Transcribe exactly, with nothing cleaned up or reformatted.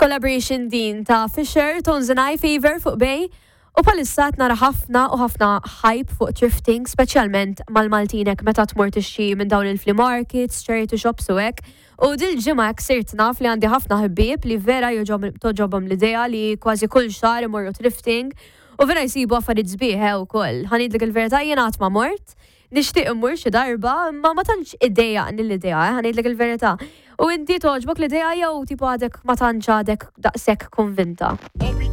Collaboration din ta' Fisher, Tones and I, Favor fuq Bay. U bħalissa qed nara ħafna u ħafna hype fuq thrifting, speċjalment mal-Maltinek meta tmur tixtri minn dawn il-flea markets, charity shops u hekk. U dil-ġimgħa hekk sirt naf li għandi ħafna ħbieb li vera togħġobhom l-idea li kważi kull xahar imorru thrifting u vera jsibu affarijiet sbieħ eh, ukoll. Ħa ngħidlek il-verità, jiena qatt ma mort, nixtieq immur xi darba, ma ma tantx iddejjaqni l-idea, eh, ħa ngħidlek il-verità. U inti togħġbok l-idea jew tipo għadek ma tantx għadek daqshekk konvinta?